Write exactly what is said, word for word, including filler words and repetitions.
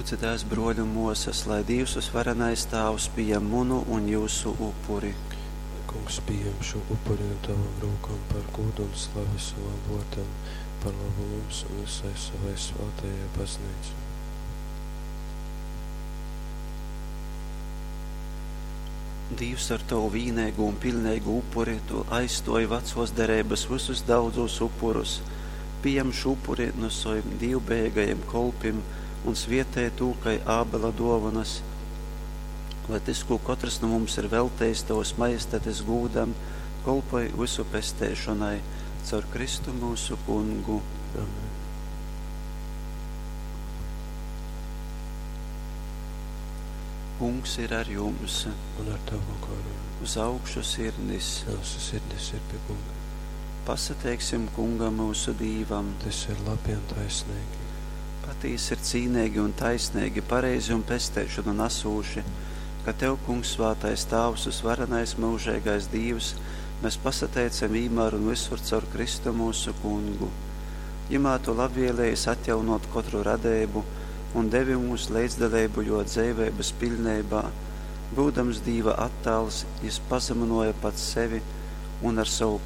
Lyudzitēs, bruoļi un muosys, lai Dīvs Vysvarenais Tāvs pījam munu un jyusu upuri. Lai Kungs pījam šū upuri nu tovom rūkom par gūdu un slavi sovam vōrdam, par lobu mums un vysai sovai svātajai Bazneicai. Dīvs, ar tovu vīneigū un piļneigū upuri tu aizstōji vacōs dereibas vysus daudzūs upurus. Pījam šū upuri nu sovim dīvbejeigajim kolpim un svietej tū kai Ābela dōvonas, lai tys, kū kotrs nu mums ir veltejis tovas majestates gūdam, kolpoj vysu pesteišonai. Caur Kristu myusu Kungu. Amen. Kungs ir ar jums. Un ar tavu goru. Uz augšu sirdis. Myusu sirdis ir pie Kunga. Pasateiksim Kungam myusu Dīvam. Tas ir labi un taisnīgi. Patīsi ir cīneigi un taisneigi, pareizi un pesteišonu nasūši, ka tev, Kungs, svātais Tāvs, vysvarenais myužeigais Dīvs, mēs pasateicam vīnmār un visur caur Kristu mūsu Kungu. Jymā tu labvēlējies atjaunot kotru radeibu un devi mums leidzdaleibu jō dzeiveibas piļneibā. Byudams Dīva attāls, jys pazamynōja pats sevi un ar savu